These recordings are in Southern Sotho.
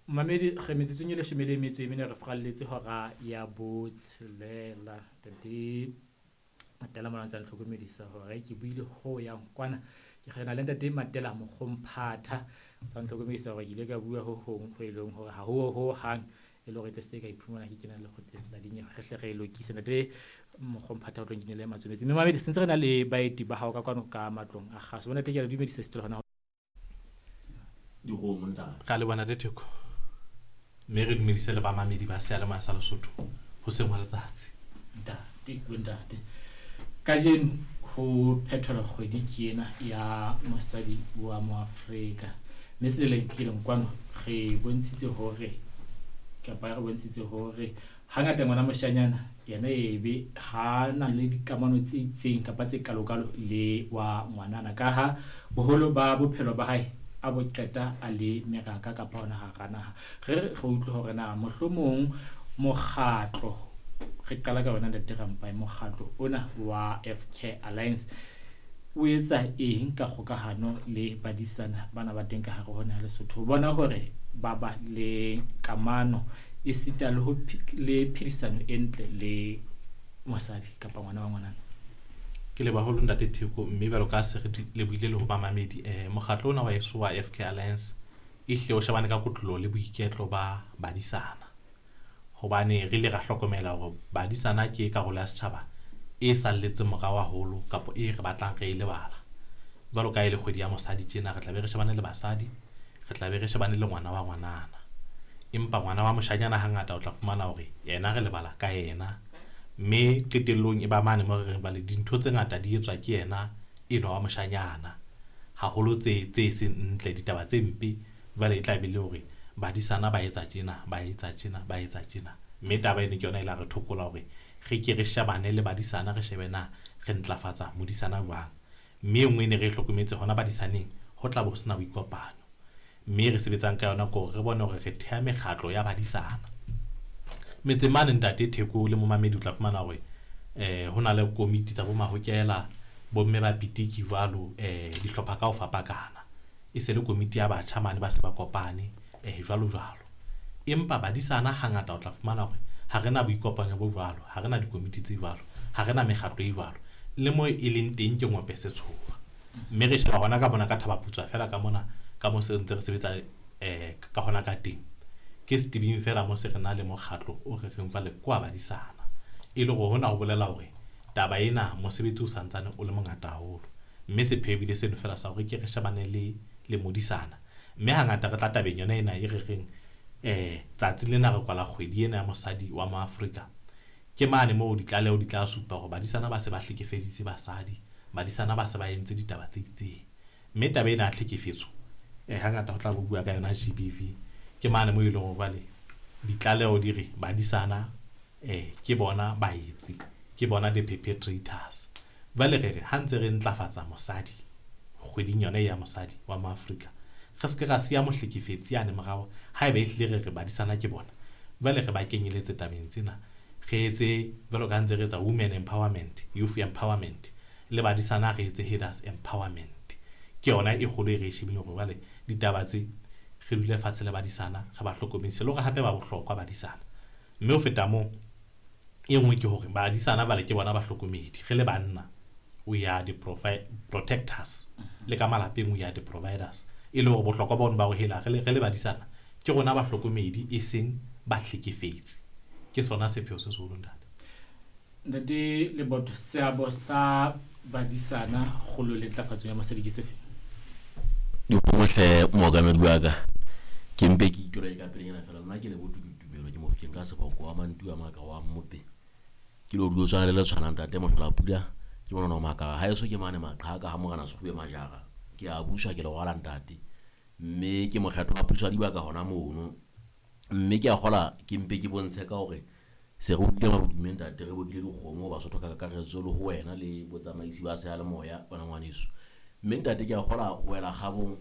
Mamedi re metsotsong e 14 re furalletse hora ya 6. Ntate Matela mona ntse a ntlhokomedisa hore ke buile ho yang kwana. Ke re na le ntate Matela Mokgomphatha. Ntsa ntlhokomedisa hore ke ile ka bua ho hong ho e leng hore ha ho ho hang e le hore tle se ka iphumana ke kena lekgotleng la dinyewe. Re hle re e lokise. Ntate Mokgomphatha o tlo nkinele matsometse. Mme mamedi se ntse re na le baeti ba hao ka kwano ka matlong a kgaso. Bona ke a le dumedisa sitelo hona. Dikgomo ntate. Ra leboha Ntate Theko. Mme re dumedise le bamamedi ba seyalemoya sa Lesotho hoseng hwa letsatsi. Ntate, bontate. Kajeno ho phethelwa kgwedi ke ena ya mosadi wa Moafrika. Mme selelekileng kwano re bontshitse hore kapa re bontshitse hore hangata ngwana moshanyana yena ebe ha na le dikamano tse itseng kapa tse kalokalo le wa ngwanana, ka ha boholo ba bophelo ba hae a bo qeta a le meraka kapa hona hara naha. Re re utlwe hore na mohlomong mokgatlo, re qala ka yona Ntate Rampai, mokgatlo ona wa FK Alliance o etsa eng ka kgokahano le badisana bana ba teng ka hare ho naha Lesotho, ho bona hore ba ba le kamano esita le ho le phedisano e ntle le mosadi kapa ngwana wa ngwanana? Ke leboha haholo Ntate Theko, mme jwalo ka se re lebohile le ho bamamedi, mokgatlo ona wa heso wa FK Alliance e hle o shebane ka kotloloho le boiketlo ba badisana. Hobane re ile ra hlokomela hore badisana ke karolo ya setjhaba e salletseng morao haholo kapa e re batlang re e lebala. Jwalo ka e le kgwedi ya mosadi tjena, re tla be re shebane le basadi, re tla be re shebane le ngwana wa ngwanana. Empa ngwana wa moshanyana hangata o tla fumana hore yena re lebala ka yena. Mme qetellong e ba mane mo re reng jwale dintho tse ngata di etswa ke yena enwa wa moshanyana. Haholo tse tse seng ntle, ditaba tse mpe, jwale e tla be le hore badisana ba etsa tjena, ba etsa tjena, ba etsa tjena. Mme taba eno ke yona e la re thokola hore re ke re shebane le badisana, re shebe na re ntlafatsa modisana jwang. Mme e nngwe e ne re e hlokometse hona badisaneng, ho tla bo ho sena boikopano. Mme re sebetsang ka yona ke hore re bone hore re theha mekgatlo ya badisana. Metseng mane Ntate Theko le momamedi o tla fumana hore ho na le komiti tsa bo mahokela, bomme ba pitiki jwalo, dihlopha ka ho fapakana. E se le komiti ya batjha mane ba se ba kopane, jwalo jwalo. Empa badisana hangata o tla fumana hore ha re na boikopanyo bo jwalo, ha re na dikomiti tse jwalo, ha re na mekgatlo e jwalo. Le mo e leng teng ke ngope setshoba. Mme re sheba hona ka mona ka Thaba-Putswa fela ka mona, ka mo se ntse re sebetsa ka hona ka teng. Ke setebeng fela mo se re na le mokgatlo o re reng jwale ke wa badisana. E le hore hona ho bolela hore taba ena mosebetsi o santsane o le mongata haholo. Mme sepheo ebile seno fela sa hore ke re shebane le modisana. Mme hangata re tla tabeng yona ena e re reng tsatsi lena re kwala kgwedi ena ya mosadi wa Moafrika. Ke mane moo ditlaleho di tla supa hore badisana ba se ba hlekefeditse basadi, badisana ba se ba entse ditaba tse itseng. Mme taba ena ya tlhekefetso hangata ho tla bo bua ka yona GBV. Ke mane moo e leng hore jwale ditlaleho di re badisana ke bona baetsi, ke bona the perpetrators. Jwale re re ha ntse re ntlafatsa mosadi kgweding yona ya mosadi wa Moafrika, re se ke ra siya mohlekefetsi yane morao. Haeba ehlile re re badisana ke bona, jwale re ba kenyeletse tabeng tsena, re etse jwalo ka ntse re etsa women empowerment, youth empowerment, le badisana re etse herders empowerment. Ke yona e kgolo e re e shebileng hore jwale ditaba tse re dule fatshe le badisana, re ba hlokomedise le hore hape ba bohlokwa badisana. Mme ho feta moo, e nngwe ke hore badisana jwale ke bona bahlokomedi. Re le banna, we are the protectors. Le ka malapeng we are the providers. E le hore bohlokwa ba bona ba hore hela re le badisana ke rona bahlokomedi e seng bahlekefetsi. Ke sona sepheo se seholo ntate. Ntate Leboto, seabo sa badisana kgolo le ntlafatso ya mosadi ke sefe? Dikgomohle mookamedi wa ka. Ke mpe ke itole ka pelenyana fela, nna ke Leboto ke Tumelo, ke Mofokeng ka seboko wa Mantu a Maka wa Mmope. Ke lo dulo tshwana le le tshwanang ntate Mohlola Pula, ke monono Maka. Haeso ke mane Maqhaka ha Morena Sekgube Majara. Ke a buswa ke le rwala ntate. Mme ke mokgetho wa puso ya dibaka hona mono. Mme ke a kgola ke mpe ke bontshe ka hore se re utlwile mabodume ntate, re bokile dikgomo Basotho ka kakaretso le ho wena le botsamaisi ba seyalemoya wena ngwaneso. Mme ntate ke a kgola ho wela kgabong,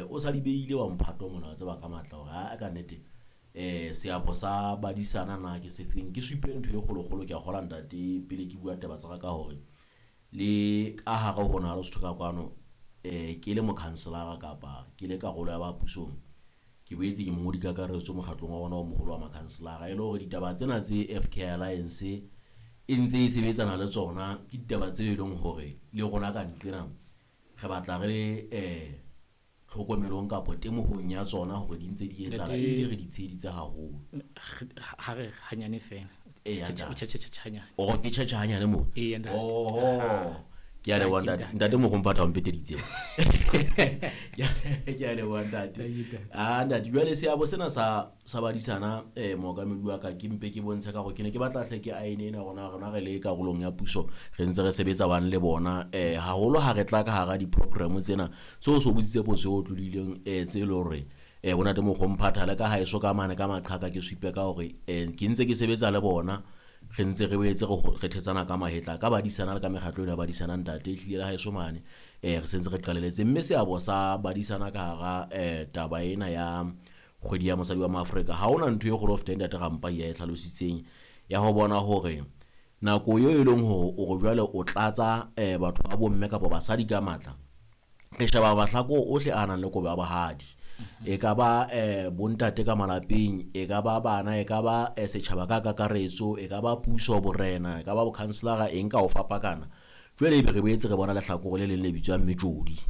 o sa di beile wa mphato mona wa tseba ka matla hore ha ka nnete seabo sa badisana na ke sefeng. Ke supe ntho e kgolokgolo, ke a kgola ntate pele ke bua taba tsa ka hore le ka hare ho naha Lesotho ka kwano, ke le mokhanselara kapa ke le karolo ya ba pusong, Ke boetse ke mongodi kakaretso mokgatlong wa rona o moholo wa makhanselara. E le hore ditaba tsena tse FK Alliance e ntse e sebetsana le tsona ke ditaba tse e leng hore le rona ka nqena re batla re le tlhokomelong kapa temohong ya tsona hore di ntse di etsahala ebile re di tsheheditse haholo. Ha re hanyane fela. Tjhe. O ke tjhe hanyane moo. Oho. Ke a leboha ntate. Ntate Mogomphatha o mpeteditse. Ke a leboha ntate. Ah ntate, jwale seabo sena sa badisana mookamedi wa ka ke mpe ke bontshe ka hore ke ne ke batla hle ke aene ena rona re le karolong ya puso re ntse re sebetsa bang le bona haholo ha re tla ka hara di-program tsena tseo so botsitse potso e tlodileng tse le hore bonate Mogomphatha le ka haeso ka mane ka maqhaka ke supe ka hore ke ntse ke sebetsa le bona re ntse re boetse re thetsana ka mahetla ka badisana le ka mekgatlo ena badisana ntate ehlile le haeso mane re sentse re qaleletse mme seabo sa badisana ka hara taba ena ya kgwedi ya mosadi wa Maafrika ha hona ntho e kgolo ho feta ntate Rampai ya e hlalositseng ya ho bona hore nako eo e leng hore o re jwale o tlatsa batho ba bomme kapa basadi ka matla re sheba mahlakore ohle a nang le kobo ya bohadi. E ka ba bontate ka malapeng, e ka ba bana, e ka ba setjhaba ka kakaretso, e ka ba puso borena, e ka ba bokhanselara, eng ka ho fapakana. Jwale ebe re boetse re bona lehlakore le leng le bitswang metjodi.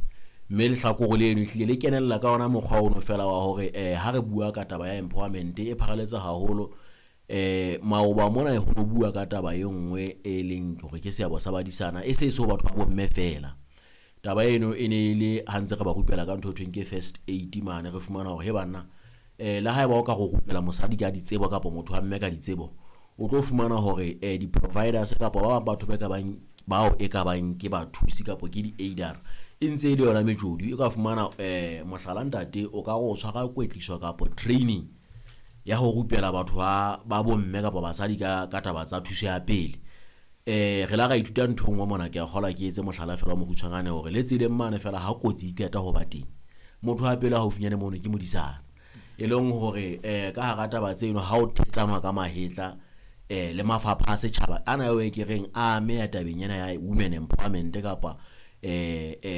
Mme lehlakore leno ehlile le kenella ka ona mokgwa ono fela wa hore ha re bua ka taba ya empowerment e pharaletse haholo. Maoba mona ho no bua ka taba e nngwe e leng hore ke seabo sa badisana e se so batho ba bomme fela. Taba eno e ne e le ha ntse re ba rupela ka ntho e thweng ke first aid mane re fumana hore he banna le haeba o ka go rupela mosadi ka ditsebo kapa motho wa mme ka ditsebo o tlo fumana hore di-providers kapa ba bang batho ba ka bang bao e ka bang ke bathusi kapa ke di-aider e ntse e le yona metjodi. E ka fumana mohlala ntate o ka go tshwara kwetliso kapa training ya ho rupela batho ba bomme kapa basadi ka taba tsa thuso ya pele. Re la ra ithuta ntho e nngwe mona ke a kgolwa ke etse mohlala fela o mokgutshwanyane hore le tseleng mane fela ha kotsi e qeta ho ba teng motho wa pele haufinyane mono ke modisana e leng hore ka hara taba tseno ha o thetsanwa ka mahetla le mafapha a setjhaba ana eo e ke reng a ameha tabeng ena ya women empowerment kapa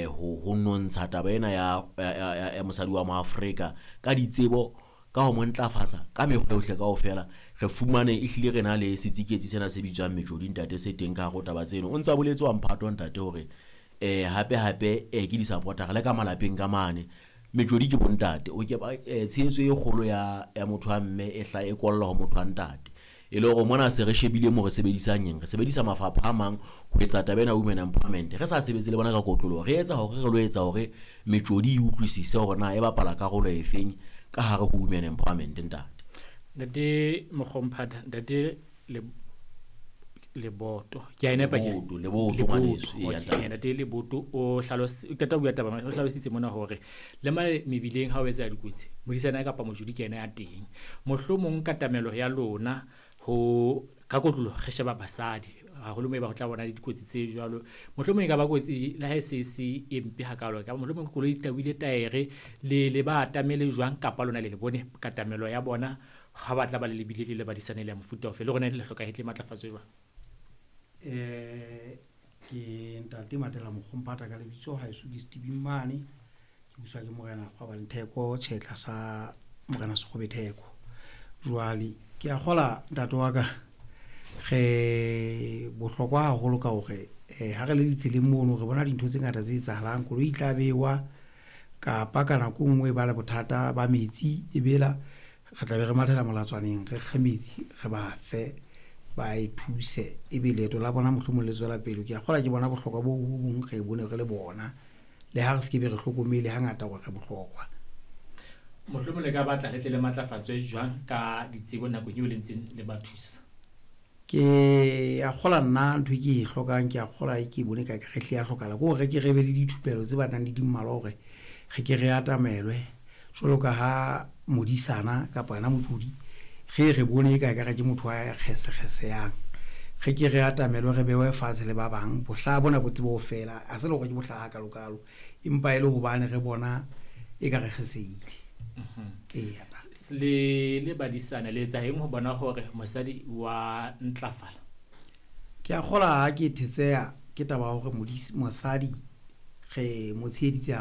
ho nontsha taba ena ya mosadi wa Moafrika ka ditsebo ka ho mo ntlafatsa ka mekgwa yohle kaofela re fumane ehlile re na le setsiketsi sena se bitswang metjodi ntate se teng ka hare ho taba tseno. O ntsa boletse wa mphato ntate hore hape hape ke di-supporter le ka malapeng ka mane metjodi ke bontate o ke tshehetso e kgolo ya motho wa mme e hla e kolla ho motho wa ntate e le hore mona se re shebile mo re sebedisang eng re sebedisa mafapha a mang ho etsa taba ena women empowerment re sa sebetse le bona ka kotloloho re etsa hore re lo etsa hore metjodi e utlwisise hore na e bapala karolo efeng ka hare ho women empowerment ntate. Ntate Mogomphatha, ntate Leboto. Ke a e nepa ke? Leboto ngwaneso. Okay, ntate Leboto o qeta ho bua taba o hlalositse mona hore le mane mebileng ha o etsa dikotsi modisana kapa mojodi ke yena ya teng. Mohlomong katamelo ya lona ho ka kotlolo re sheba basadi haholo moo e ba ho tla bona le dikotsi tse jwalo mohlomong e ka ba kotsi le ha e se e mpe hakalo ka mohlomong koloi e tawile taere le ba atamele jwang kapa lona le le bone katamelo ya bona ha ba tla ba le lebile le le badisane le ya mofuta ofe le rona le hloka hetle matlafatso jwang. Ke ntate Matela Mogomphatha ka lebitso haeso ke Stevie Mane ke buswa ke morena Kgwabane Theko tjhetla sa morena Sekgobe Theko. Jwale ke a kgola ntate wa ka re bohlokwa haholo ka hore ha re le ditseleng mono re bona dintho tse ngata tse etsahalang koloi e tla bewa kapa ka nako e nngwe ba le bothata ba metsi e bela re tla be re mathela molatswaneng re kge metsi re ba fe ba e thuse ebe leeto la bona mohlomong le tswela pele. Ke a kgola ke bona bohlokwa bo bong re bone re le bona le ha re se ke be re hlokomele hangata hore re bohlokwa. Mohlomong le ka batla le tle le matlafatswe jwang ka ditsebo nakong eo le ntseng le ba thusa? Ke a kgola nna ntho e ke e hlokang ke a kgola e ke bone ka re hle ya hlokahala ke hore ke re be le dithupelo tse batlang di mmalwa hore re ke re atamelwe jwalo ka ha modisana kapa yena motjodi re bone ka re ke motho wa kgesekgeseyang re ke re atamelwe re bewe fatshe le ba bang bohla bona bo tsebo fela a se le hore ke bohla ha kalokalo empa e le hobane re bona e ka re kgeseile. Le badisana le etsa eng ho bona hore mosadi wa ntlafala? Ke a kgola ha ke thetseha ke taba ya hore mosadi re mo tsheheditse.